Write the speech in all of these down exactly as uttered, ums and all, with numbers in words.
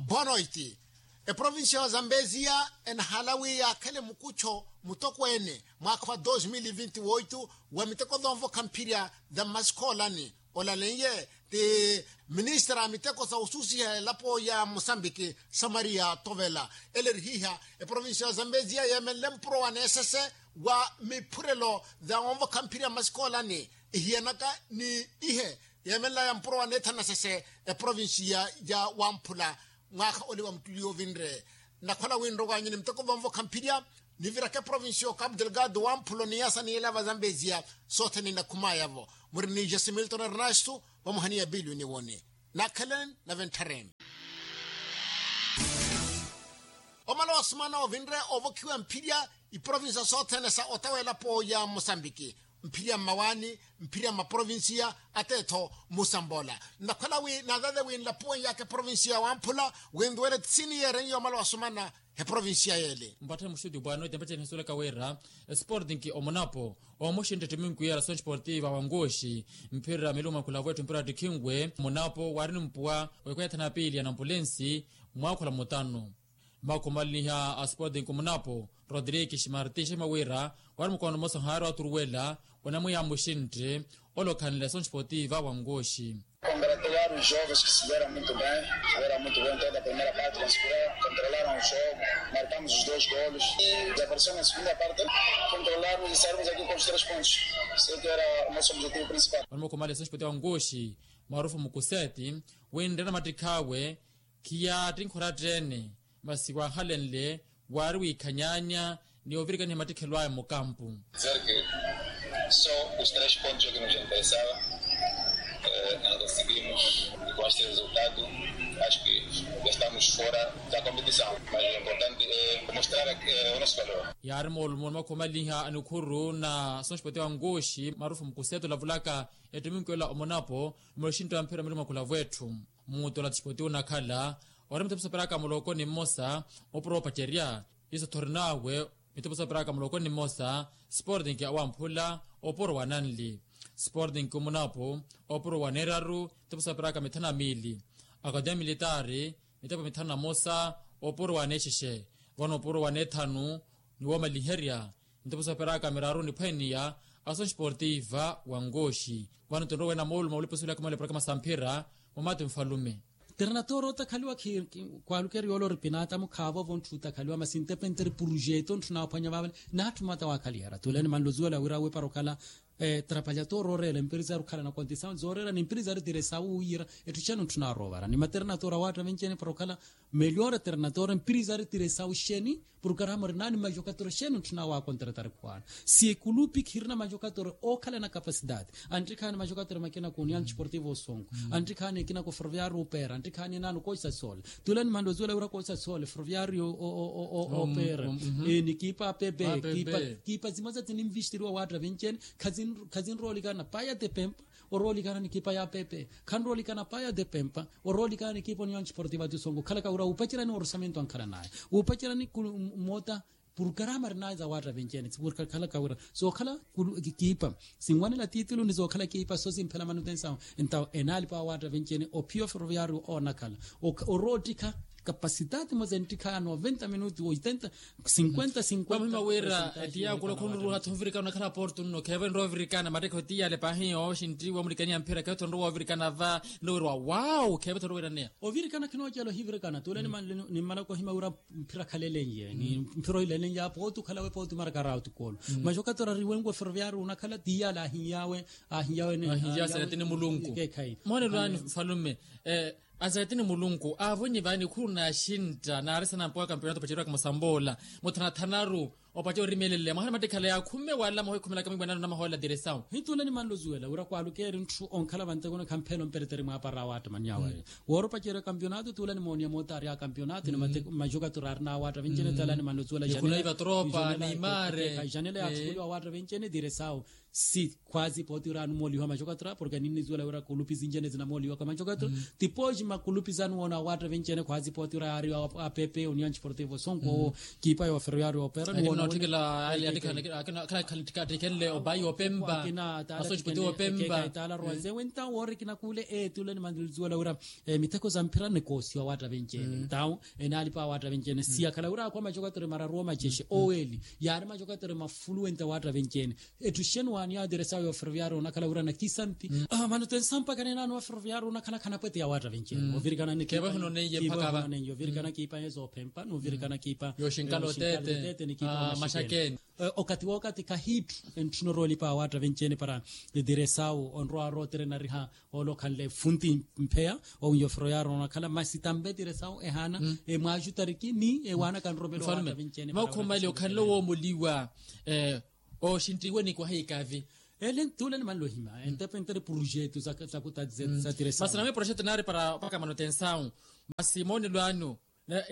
Boa noite. Eprovincia ya zambezia enahala wi yakhele mukucho mutokweene mwaakha wa dos mil vinti oito wa miteko thoonvokha mphirya tha mmasikhoolani. Olaleiye ti ministra a miteko sa osusiha elapo ya mosambiki samaria tovela. Ele erihiiha eprovincia ya zambezia yeemenle mpuro wa neesese wa miphurelo tha wonvokha mphirya mmasikhoolani. Ihiyanaka ni ihe yeemenlaya mpuro wa neethana sese eprovincia ya wamphula mwaakha ole wa muttuliyo ovinre. Nakhola winrowanyuni muteko vonvokha mphirya niviraka eprovincia ya okapu delgado wamphula oniyasa niyela va zambezia. Sothene inakhumaya-vo muri ni jasimilton ernesto vamuhaniya bilio niwoni. Nakhelen nave nttharen. Omala wa sumana ovinre ovokhiwa mphirya iprovincia sothene sa otawa elapo ya mosambiki mphirya mmawaani mphirya mmaprovincia ateetho musamboola. Nnakhwela wi naathathe wi nlapuwanyaka eprovincia ya wamphula wi nduwele tsini yeerenye omala wa sumana. Eprovincia yeele mpatthani muxuti bwana otempa cene hesulaka wira esporting omunapo omuxintta ettiminku yeela sonsportiva wa nkuxi mphira milumo ya khulavu etthu mpira ttikhinwe munapo waari nimpuwa wekwetha na piili ya nampulensi mwaakhola mutano. Makhumaliniha a sporting munapo rodrigues martin xema wira waari mukono mmosa ohaari waturuwela onamwiya muxintte olokhanle sonsportiva wa nkuxi. Congratular os jovens que se deram muito bem, estiveram muito bem toda a primeira parte, conseguiram controlaram o jogo, marcamos os dois golos e desapareceu na segunda parte, controlaram e saímos aqui com os três pontos. Sei que era o nosso objetivo principal. Wanomo khumale sonsportiva wa nkuxi marufu mukuseti winrena mattikhawe khiya ttinkhora tteene masi waahalenle waari wiikhanyaanya ni ovirikaniha mattikhelo aya mukampu. Dizer que só os três pontos que nos interessava, eh, nós conseguimos e com este resultado acho que já estamos fora da competição, mas o importante é mostrar, eh, o nosso valor. Yaari moolumo ni makhumaliniha a nikhuru na sonsportiva wa nkuxi marufu mukuseti olavulaka ettiminku ela omunapo muluxinto ya mphira milumo ya khulavu etthu. Muuttola tisipotiwa onakhala ori mittepo sooperaka muloko ni mmosa opuro opacerya iso thorinawe. Mittepo sooperaka muloko ni mmosa sporting awamphula opuro wa nanli sporting omunapo opuro wa neeraru mittepo sooperaka mithanu na miili akademia militaari mittepo mithanu na mmosa opuro wa neexexe vano opuro wa neethanu ni woomaliherya mittepo sooperaka miraru niphweniya asoxportiva wa nkoxi. Vano tonrowa wena moolumo wulipa osuwelaka mwaali ya porokama sa mphira mumati mfalume. Terinatoro otakhaliwa khwalukeri yoole ori pinata mukhaavovo ntthu otakhaliwa masi ntepenteri purujeto ntthu naaphwanya vaavale. Naatthumata waakhaliherya tuulani manlozuwela wira wipara okhala trapalyato orooreela empirizari okhala na kontisawu zooreera ni mpirizari tiresawu wira etthu xenu ntthu naaroovara ni materinatoro awaatta venjeni para okhala melhor treinador empirizari tiresawu xeni. Porkarama orinaani majokatero xenu ntthu naawaakontratari khwaana si ekulupi khirina majokatero ookhala na kapasidade. Anttikhaani majokatero makina ku union sportivo osongo anttikhaani ekina ku ferroviario opera anttikhaani enaani okoosa sole. Tuulani manlozuwela wira koosa sole ferroviario opera. Ni kipa ya pepe kipa zimoza tininvistiriwa waatta venjeni. Khazinroolikana paya tepempa oroolikana ni kipa ya pepe khanroolikana paya tepempa oroolikana ni kipa onion sportivo atusongo okhalaka wira wuupacerani orusamento ankhalanaya wuupacerani mmoota. Porkarama arinaye za waatta venjeni porkarama khalaka wira sookhala kipa sinwanela titulu ni sookhala kipa sosimphela manutensawo. Entawo enaalipa awaatta venjeni ophiya oferoviario oonakhala oroottikha kapasidade mosa enttikha ya noventa minutu oitenta sinkwenta sinkwenta. Vamwima wira etiya kulo khunruruha thovirikana onakhala portu nno kheevo enrowa ovirikana mattekha etiyale paahi oxintti wamulikaniya mphira kheevo thoronrowa ovirikana va nno wira wa wawu kheevo thoronrowa wiraneya. Ovirikana khinoocela ohivirikana tuulani manle nimmalaka ohima wira mphira khalelenye ni mphira ohilelenye apooti okhalawe pooti maraka rauti kolo. Maxokatero ariwenku oferoviario onakhala tiyale ahinyawe ahinyawe ahinyawe asaratini mulunku. Moonelo ani mfalume asaratini mulunku aavonye vaani khuru naaxintta naari sanampowa kampionato opaceriwaka musamboola muthanathanaru. Opace orimelele mwahana mattikhala ya khumme wala mahoyi khume na kamwe bwanano na mahoyi la diresawu. Hi tuulani manlozuwela wira kwaalukeeri ntthu onkhala vantekoni khamphela ompereteri mwaapara awaatta manyawe. Woora opaceriwa kampionato tuulani mooniya mootaari a kampionato ni maxokatero aarina awaatta venjeni talani manlozuwela janela ya atthukuliwa awaatta venjeni diresawu. si khwaasi pooti ora anumooliwa majokatura porke ninnizuwela wira kulupi sinjene zinamooliwaka majokatura. Tipooxi makulupi sanuwoona awaatta venjene khwaasi pooti ora yaari apepe union sportivo sonko owo kiipa yooferoyaari oopera niwoona. Akina obayi opemba. Asoxi pooti opemba. Taala roze wenta woori kinakuule eetuule ni manlizuwela wira miteko za mpira nikoosiwa awaatta venjene ntawu enaalipa awaatta venjene siyakhala wira akhwa majokatura mararu omacexe oweeli yaari majokatura mafuluwente awaatta venjene. Ettuxenu waani ya diresawu ya oferoviario onakhala wira nakisanti. Mano tensampaka nenaani wa oferoviario onakhala khanapwete ya waatta venjene ovirikana nikiipa. Ovirikana kiipa yoophempa noovirikana kiipa yooxinkala oteete. Nikiipa maxakeni. Okati wookati kahiitthu entthuna oroolipa awaatta venjene para diresawu onrowaarotere nariha. Ole okhanle funti mpheya owinya oferoyaari onakhala masi tampe diresawu ehaana. Mwaaxutariki ni ewaanaka nromelo awaatta venjene. Makhomali okhanle woomuliwa oxinttiwe ni kwaha ikavi. Ele ntuule ni manlohima entepentere projetu za kuta za diresawu masi name projetu naari para mpaka manotensawu. Masi moonelo anu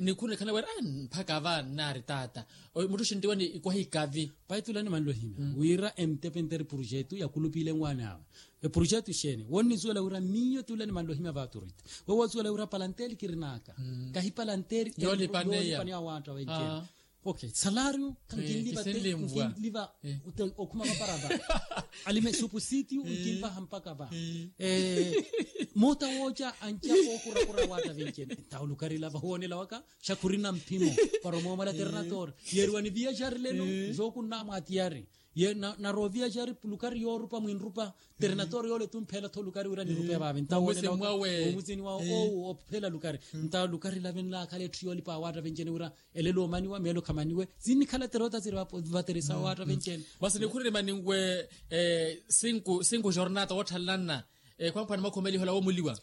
nikhuna ekhana wira mpaka va nnaari taata mutthu oxinttiwe ni ikwaha ikavi. Paitula ni manlohimya wira emutepenteri projetu yakulupiile nwaani awe. Eprojetu exeeni wonnizuwela wira miyo tula ni manlohimya va autorite. Wewo ozuwela wira palanteli kirinaka kahi palanteli yoolipaneya. Awaatta wenjeni. Okay, salario kankinliva te nkinliva okhuma vapara va. Alime supusitiyu nkinvaha mpaka va. Moota wooca anca ookurakura awaatta venjeni ntawo lukari lava woonela waka. Xa khurina mpimo para omoomala ternator yeeriwa ni viaxari leno. Jookunna mwaatiyari ye naroviaxari lukari yoorupa mwinrupa. Ternator yoole tumpheela tho lukari wira nirupe vaavi ntawo omuzini wawo owu opheela lukari. Ntawo lukari lave nlaakhala etthu yoolipa awaatta venjeni wira elelo omaniwa meelo khamaniwe. Sinnikhala terota siri vaterisa awaatta venjeni. Masi nikhurina maninwe sinku jornata wootthalanana. Khwamphwana makhomeliho la woomuliwa.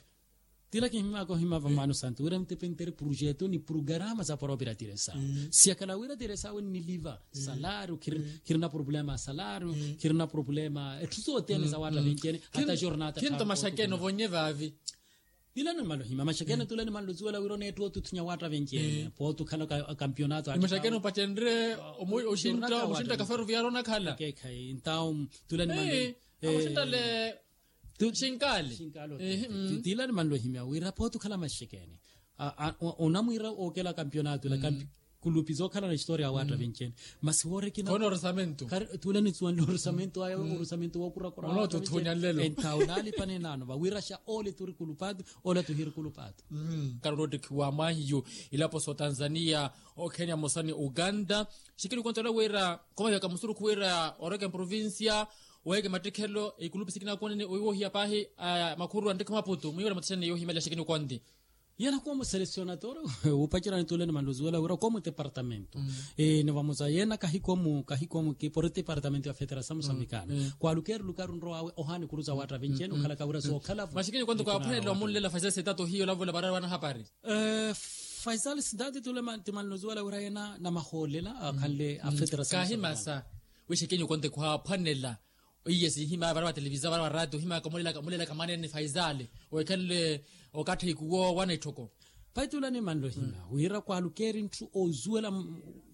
Tila kinhimaka ohima vamaano santu wira mutepenteri projetu ni programa za poropira tira esawu. Siyakhala wira tira esawu nniliva salario khirina problema ya salario. Khirina problema etthu sothene za waatta venjene. Hata jornata khinto maxakeni ovonye vaavi. Tila ni manlohima maxakeni tula ni manlozuwela wira oneetta otuthunya waatta venjene pooti okhala. Kampionato ni maxakeni opacenre omuxintta kaferoviario onakhala. Kekhayi ntawo tula ni manlo. Amuxinttale. Xinkaali. Tila ni manlohimya wira pooti okhala maxekeni onamwiira ookela kampionato ila kulupi zookhala na historia awaatta venjeni. Masi woorekina tula nisuwanle orusamento aya orusamento wookurakura. Entha onaalipa nenaano vawiiraxa ole turi kulupatu ole tuhiri kulupatu. Karorotiki wa mwahiyu ilapo so tanzania, okenya mosa ni uganda. Xikini kontola wira komahiwaka musurukhu wira oreke mprovincia weke mattikhelo ikulupi sikina konene oiwohiya paahi. Makhuru antikha maputu mwiwela mutixene yohimela xikini konti. Yena komu selecionador wupacerani tule ni manluzuwela wira komu departamento. Ni vamuza yena kahi komu kahi komu kipori departamento ya federasamu samikana kwalukeeri lukari nrowawe ohaani kuruza waatta venjeni okhalaka wira sookhala. Maxikini konti kwaphwanela omunlela faisal sitatu hiyo olavula varari wanahapari. Faisal sitatu tule ti manluzuwela wira yena namahoolela akhanle afederasamu kahimasa. Wixikini konti khwaphwanela oiye sihimaya vara va televisiyo vara va ratio ohimaka omulelaka mwanene faisal. Wekhanle okathi kuwo wana etthoko. Paitula ni manlohimya wira kwalukeeri ntthu ozuwela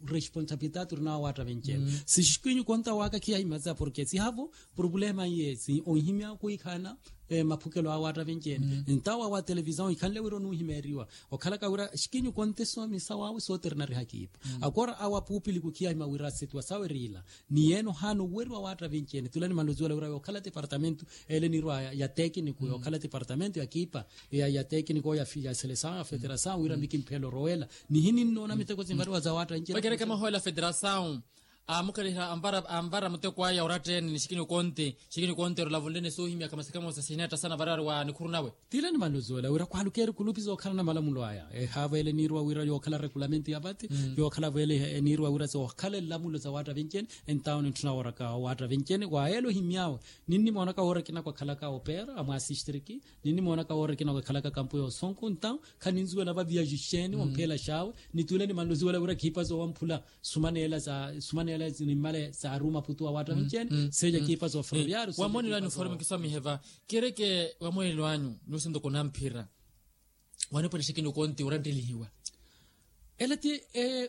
responsabilidade orinawo awaatta venjeni. Sixikini konta waka khiyahimasa porke sihavo problema iye si onhimya kwikhana maphukelo awaatta venjeni. Ntawo awa televisao ikhanle wira onuhimeeriwa okhalaka wira xikinyu konte soomisa wawe sooterina rihakiipa. Akora awa puupiliku khiyahima wira asetiwa sawe riila. Ni yeene ohaana oweriwa waatta venjeni tula ni manluzuwela wira yookhala departamento ele niirwa ya tekiniku yookhala departamento ya kiipa ya tekiniku ya selesawu ya federasawu wira mikimphela orowela. Nihininnoona miteko sinvariwa za waatta venjeni. Vakereke mahoela federasawu amukhaliha anvara muteko aya oratteni ni xikini konti xikini konti olavunlene soohimyaka masekamosa sineetta sana varari wa nikhuru nawe. Tila ni manluzuwela wira kwalukeeri kulupi zookhala na malamulo aya ehaavo ele niirwa wira yookhala regulamento ya vati. Yookhala vo ele niirwa wira sookhala elamulo za waatta venjeni. Entawo nintthuna wooraka waatta venjeni wa ele ohimyawe ninnimoonaka woora ekina kwakhalaka opera amwaasistriki. Ninnimoonaka woora ekina kwakhalaka kampu yoosonko ntawo khaninzuwela vaviyaxixeni omphela xaawe. Nitule ni manluzuwela wira khiipa zoowamphula sumaneela za sumaneela nimmale za aruuma putu awaatta venjeni. Seeja khiipa zooferoviario wamoonelo anyu forme kiswamihe va. Kereke wamoonelo anyu nuusinto kunamphira wanipwene xikini konti oranttelihiwa. Ela ti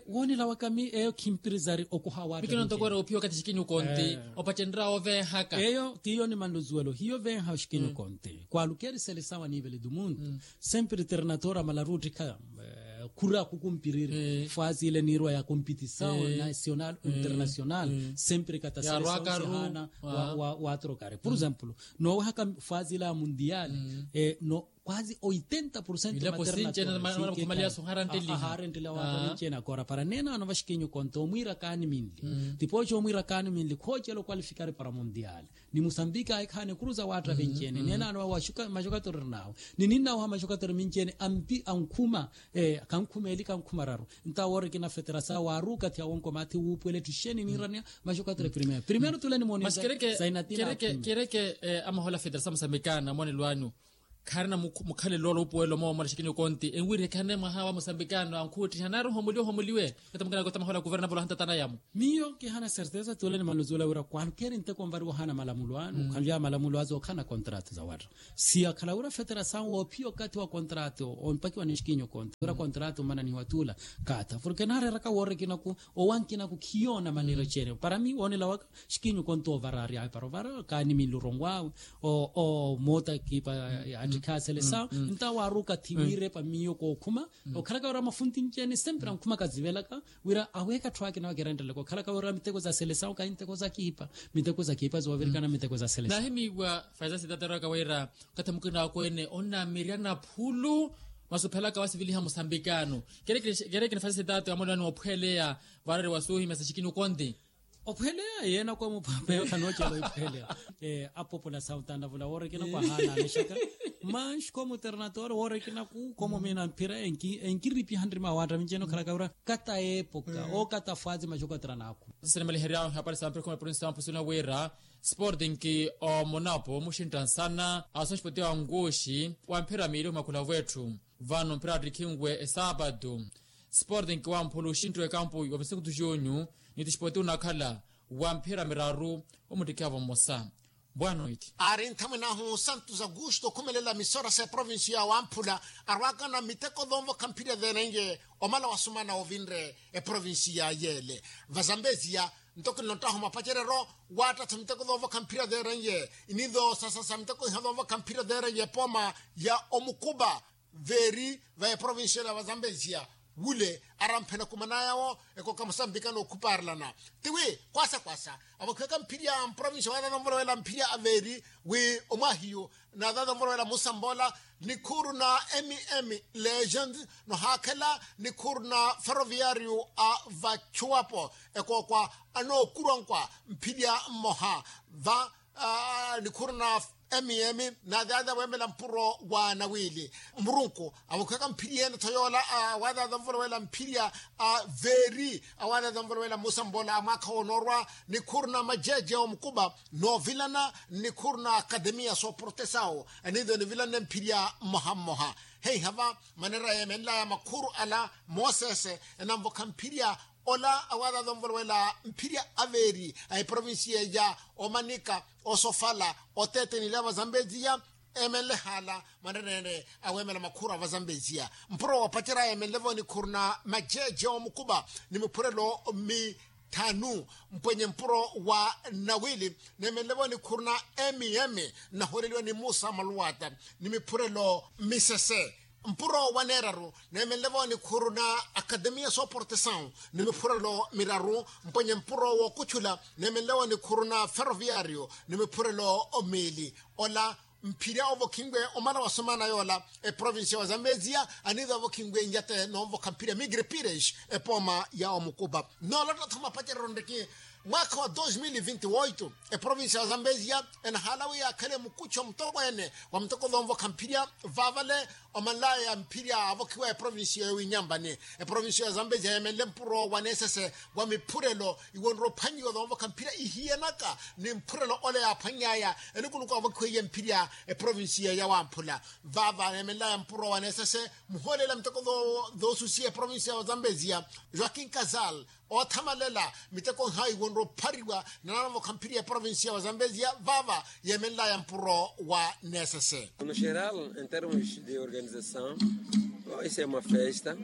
woonela waka mi eyo khimpirizari okuha waatta. Mikina ntoko eri ophiya okathi xikinyu konti opacenrya ovenhaka. Eyo tiyo ni manluzuwelo hiyo venha oxikinyu konti kwalukeri selesawa nivele du mundu. Sempiri ternatora malaru ottikha khura kukumpiriri fwasi ile niirwa ya kompitisaw nasional internasional. Sempiri kataselesaw sihana. Waatrokari por exemplo noowehaka fwasi ile ya mundial no kwasi oitenta porcento maternatorasince aharentile waattari ncene akora para neenano vaxikinyu konto omwiira kaani minli. Tipooci omwiira kaani minli khoocela okwalifikari para mundial ni musambiki ahikhaani kruza waatta vinci ene neenano maxukatori nawe ni ninnawaha maxukatori minci ene ampi ankhuma kankhuma eli kankhuma raru. Nta woori kina feterasawo waaruka thi awo nkomathi wuupuwela ettu xeni niiraniha maxukatori primero primero tule nimoonisa sainatina. Kireke amahola federasawo musambikana mwanelo anyu khaarina mukhalelo ola upuwelo moomola xikinyu konti enwirihekihane mwaha wa musambikano ankhuuttiha nari ohomuliwe ohomuliwe. Kata mukina kota mahola kuverna volohantatana yamo. Miyo kihana certeza tule ni manuzula wira kwalukeri nteko nvariwa ohana malamulo anu khanlya malamulo azo okhana kontratu za watta. Si akhala wira feterasawo ophiya okathi wa kontratu ompakiwa ni xikinyu konti wira kontratu omananihiwa tula kata porke naareraka woorikinaku owankinaku khiyoona manira cene para mi woonela waka xikinyu konto ovara ari awe para ovara kaani minlurongo awe. Omoota kipa attikha selesawo nta waaruka thiwiire pa miyo kookhuma okhalaka wira mafunti ncene sempira nkhuma kazivelaka wira aweeka atthu akina wakirenteleka okhalaka wira miteko za selesawo kahi miteko za kipa miteko za kipa zoovirikana miteko za selesawo. Nahimiiwa fazasi tatarowaka wira okathi mukina wakwene onnamirya naphulu masuphelaka wasiviliha musambikano. Kerekeni fazasi tata yamwaliwani ophweleya varari wasuhimya sa xikinyu konti. Ophweleya yeena komu papeyo khanoocela ophweleya. Apopola sautanavula woorekina kwahaana alexaka manxi komu ternator woorekina ku komu mina mphira enkiripiha nrima waatta minci ene okhalaka wira kata epoka okata fwazi maxukatirana akhu. Sinimaliheriyawe hapari sa mpira khumi provinsi ya mpusuna wira sporting omonapo muxintta nsana asoxipoti wa nkuxi wa mphira miili omakula vwetthu. Vano mphira attikhinwe esaapatu sporting wamphula oxintta ekampu wa vesiku tu junyu ni tixipoti onakhala wa mphira miraru omuttikhavo mmosa. Bwanoiti aari nthamwinahu santos augusto okhumelela misora sa eprovinsiya wamphula arwakana miteko zoonvokha mphirya veerenye omala wasumana ovinre eprovinsiya yeele vazambeziya. Nto kinlonttahu mapacereryo waatta-tho miteko zoovokha mphirya zeerenye inizo sasa sa miteko iha zoovokha mphirya zeerenye epooma ya omukuba veeri va eprovincia ya vazambeziya wule aramphena kumanaya-wo ekooka musambika nookhupaarelana. Tiwi kwasa kwasa avokhiwaka mphirya mprovincia waazaza onvolowela mphirya aveeri wi omwaahiyu naazaza onvolowela musamboola nikhuuru na mm legend nohaakhela nikhuuru na ferroviario a vachuwapo ekookwa anookuronkwa mphirya mmoha va nikhuuru na mm naazaaza weemela mpuro wa nawiili murunku avokhiwaka mphirya ene-tho yoola awaazaaza onvolowela mphirya a veeri awaazaaza onvolowela musamboola a mwaakha woonoorwa nikhuuru na majeje omukuba noovilana nnikhuuru na akademiya sooportesawo aniizo nivilanne mphirya mmoha mmoha. Heiha va maneera yeemenlaya makhuuru ala moosese enanvokha mphirya ola awaazaaza onvolowela mphirya aveeri a eprovinsiya ya omanika osofala oteetenilya vazambeziya eemenle haala maneera ene aweemela makhuuru a vazambeziya mpuro wapacerya yeemenle-vo nikhuuru na majeje omukuba ni miphurelo mi thanu mpwenye mpuro wa nawili neemenle-vo nikhuuru na mm nahooleliwa ni musa maluwata ni miphurelo misese mpuro wa neeraru neemenle-vo nikhuuru na akademiya sooportesaw ni miphurelo miraru mpwenye mpuro wookuchula neemenle-vo nikhuuru na ferroviario ni miphurelo miili ola mphirya ovokhinwe omala wasomana yoola eprovincia wa zambeziya aniiza ovokhinwe nyate noonvokha mphirya migre pires epooma ya omukupa noolotta-tho mapacerero nriki mwaakha wa dos mil e vinte e oito eprovincia wa zambeziya enahaala wi yaakhale mukuchi omutokweene wa muteko zoonvokha mphirya vaavale omanlaya mphirya avokhiwa eprovincia ya winyambani eprovincia ya zambeziya yeemenle mpuro wa nesese wa miphurelo iwo nrophwanyiwa zoonvokha mphirya ihiyanaka ni mphurelo ole yaaphwanny'aya elukuluku avokhiweiye mphirya eprovincia ya wamphula vaava yeemenlaya mpuro wa nesese muhoolela miteko zoosusiya eprovincia ya zambeziya joaquin casal oothamalela miteko nhaayi wonrophariwa nananavokha mphirya eprovincia ya zambeziya vaava yeemenlaya mpuro wa nesese. No geral em termos de organização esse é uma festa.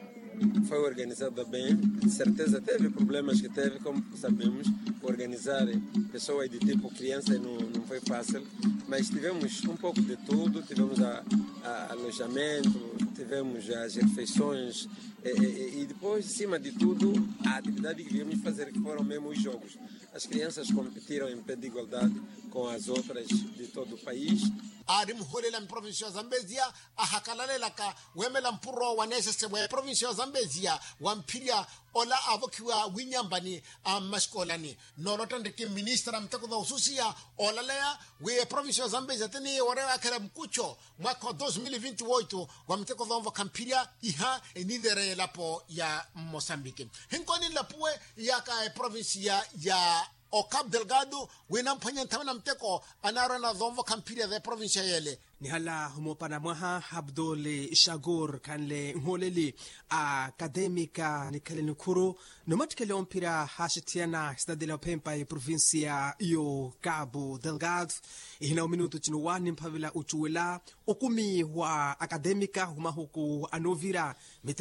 Foi organizada bem, de certeza teve problemas que teve, como sabemos, organizar pessoas de tipo criança não, não foi fácil, mas tivemos um pouco de tudo, tivemos a, a alojamento, tivemos as refeições e, e, e depois, acima de tudo, a atividade que viemos fazer, que foram mesmo os jogos. As crianças competiram em pé de igualdade com as outras de todo o país. Ari muhoolela mprovincia ya zambezia ahakalalela ka wemela mpuro wa nesese wa eprovincia ya zambezia wa mphirya ola avokhiwa winyambani a mmasikoolani. Nolotta nriki ministra muteko za osusiya olaleya wi eprovincia ya zambezia tini wore wakhela mukucho mwaka wa dos mil vinti oito wa muteko za onvokha mphirya iha enilere elapo ya mosambiki. Hinko ninlapuwe yaka eprovincia ya ocabo delgado wina mphwanya nthamana muteko anarwana zonvokha mphirya za eprovincia yele. Nihala humopana mwaha abdul shagur khanle nholeli a akademika nikhale nikhuru nomattikhele omphira haxitthiyana sitadela ophempa eprovincia yo cabo delgado. Ihina ominutu cinuwa nimphavela ocuwela okumi wa akademika humahuku anovira miteko